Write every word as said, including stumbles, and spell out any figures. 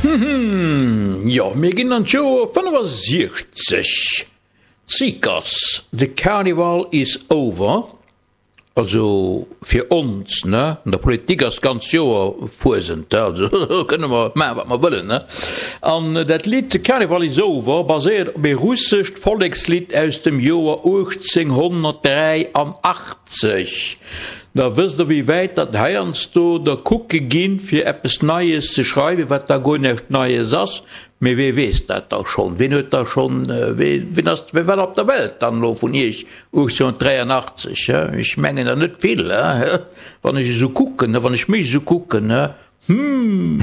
Jo, mir ginn an d'Joer fënnefasiechzeg. Seekers, The Carnival is over. Also fir ons, ne? An der Politik ass d'ganz Joer Fuesent, also kënne mer maachen, wat mer wëllen, ne? An dat Lidd The Carnival is over baséiert op ee russescht Vollekslidd aus dem Joer uechtzénghonnertdräianachtzeg. Da wësst Der, wéi wäit datt heiansdo der kucke ginn, fir eppes Neies ze schreiwen, wat da guer näischt Neies ass. Mee wee weess dat da schonn? Ween huet da schonn, ween ass, wee war op der Welt dann elo vun Iech uechtzénhunnertdräianachtzeg? Ech mengen der net vill, wann ech esou kucken, wann ech mech esou kucken, hm.